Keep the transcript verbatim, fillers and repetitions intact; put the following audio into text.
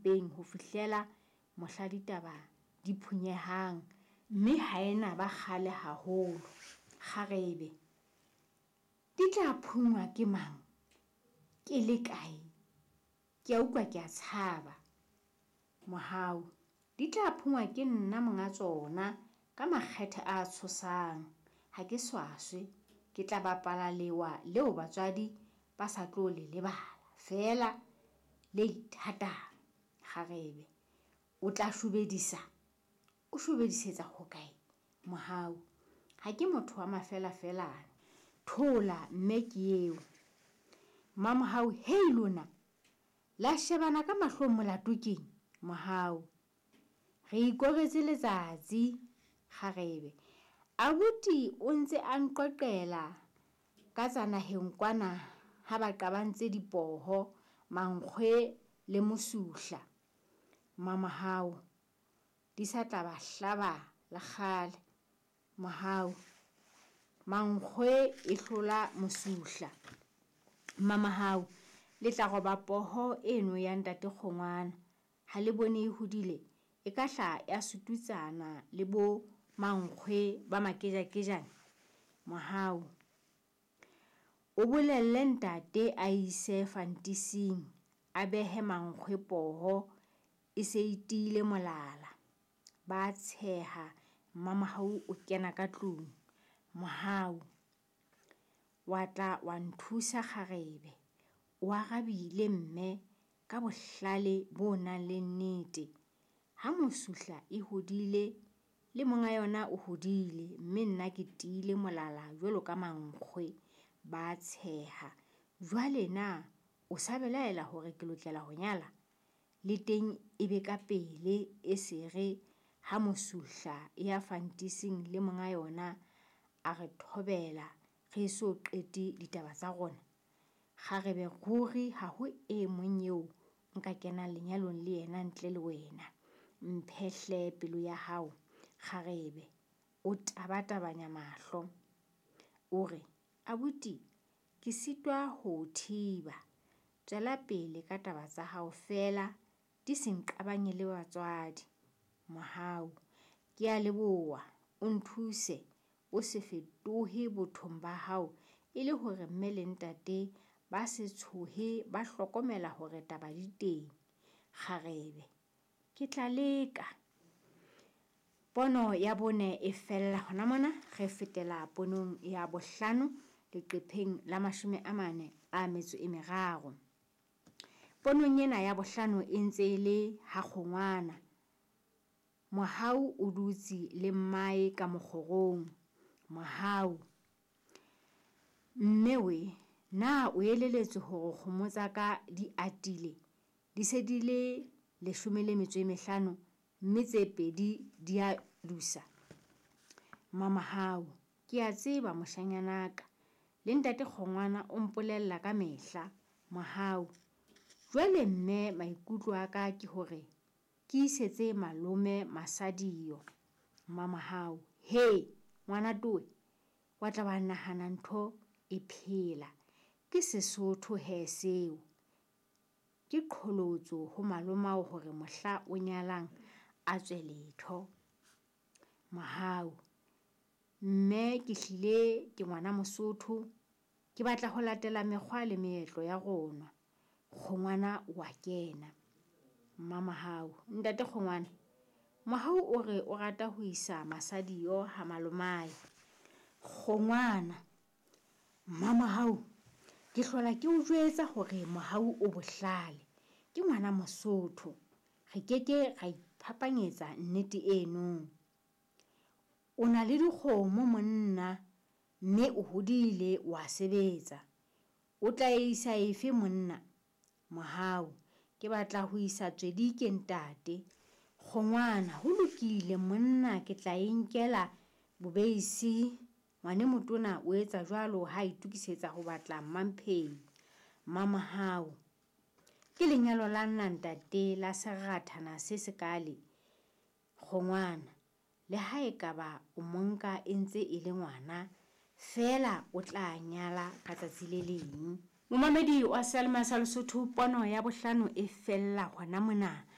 mpeng ho fihlela mohla ditaba di phunyehang, mme ha e na ba kgale haholo. Kgarebe, di tla phunngwa ke mang? Ke le kae? Ke a utlwa ke a tshaba. Mohau, di tla phunngwa ke nna monga tsona ka makgethe a tshosang. Ha ke swaswe, ke tla bapala lewa leo batswadi ba sa tlo le lebala, feela le ithatang. Kgarebe, o tla shobedisa? O shobedisetsa hokae? Mohau, ha ke motho wa mafelafelane. Thola mme ke eo. Mamohau, hei lona, la shebana ka mahlong molato keng? Mohau, re ikoretse letsatsi. Kgarebe, abuti o ntse a nqoqela ka tsa naheng kwana ha ba qabantse dipoho, mankgwe le mosuhla. Mamohau, di sa tla ba hlaba le kgale. Mohau, mankgwe e hlola mosuhla. Mamohau, le tla roba poho eno ya ntate Kgongwana. Ha le bone e hodile, e ka hla ya sututsana le bo mankgwe ba makejakejane. Mohau, o bolelle ntate a ise fantising, a behe mankgwe poho e se e tiile molala. Ba tsheha, Mmamohau o kena ka tlung. Mohau, wa tla wa nthusa kgarebe. O arabile mme ka bohlale bo nang le nnete. Ha mosuhla e hodile le monga yona o hodile, mme nna ke tiile molala jwalo ka mankgwe. Ba tsheha. Jwale na o sa belaela hore ke lokela ho nyala? Le teng e be ka pele e se re ha mosuhla e ya fantising le monga yona a re thobela re eso qete ditaba tsa rona. Kgarebe ruri ha ho e mong eo nka kenang lenyalong le yena ntle le wena. Mphe hle pelo ya hao. Kgarebe, o tabatabanya mahlo. O re, abuti, ke sitwa ho o thiba. Tswela pele ka taba tsa hao feela di se nqabanye le batswadi. Mohau, ke a leboha, o nthuse o se fetohe bothong ba hao e le hore mme le ntate ba se tshohe ba hlokomela hore taba di teng. Kgarebe, ke tla leka. Pono ya bone e fella hona mona, re fetela ponong ya bohlano leqepheng la mashome a mane a metso e meraro. Ponong ena ya bohlano e ntse e le ha Kgongwana. Mohau o dutse le mmae ka mokgorong. Mohau, mme we, na o elelletswe hore kgomo tsa ka di atile? Di se di le leshome le metso e mehlano, mme tse pedi di a dusa. Mamohau, ke a tseba moshanyanaka, le ntate Kgongwana o mpolella ka mehla. Mohau, jwale mme maikutlo a ka ke hore ke isetse malome Masadiyo. Mamohau, he ngwana towe, wa tla wa nahana ntho e phela. Ke Sesotho he seo. Ke qholotso ho malomao hore mohla o nyalang a tswe letho. Mohau, mme ke hlile ke ngwana Mosotho, ke batla ho latela mekgwa le meetlo ya rona. Kgongwana o a kena. Mmamohau, ntate Kgongwana, Mohau o re o rata ho isa Masadiyo ha malomae. Kgongwana, Mmamohau, ke hlola ke o jwetsa hore Mohau o bohlale. Ke ngwana Mosotho. Re keke ra iphapanyetsa nnete eno. O na le dikgomo monna, mme o hodile o a sebetsa. O tla isa efe monna? Mohau, ke batla ho isa Tswedike ntate. Kgongwana, ho lokile monna, ke tla e nkela bobeisi. Ngwane motona o etsa jwalo ha itokisetsa ho batla Mmamphei. Mmamohau, ke lenyalo la nna ntate la serathana se sekaale. Kgongwana, le ha ekaba o monka e ntse e le ngwana, feela o tla nyala ka tsatsi le leng. Momamedi wa Seyalemoya sa Lesotho, pono ya bohlano e fella hona mona.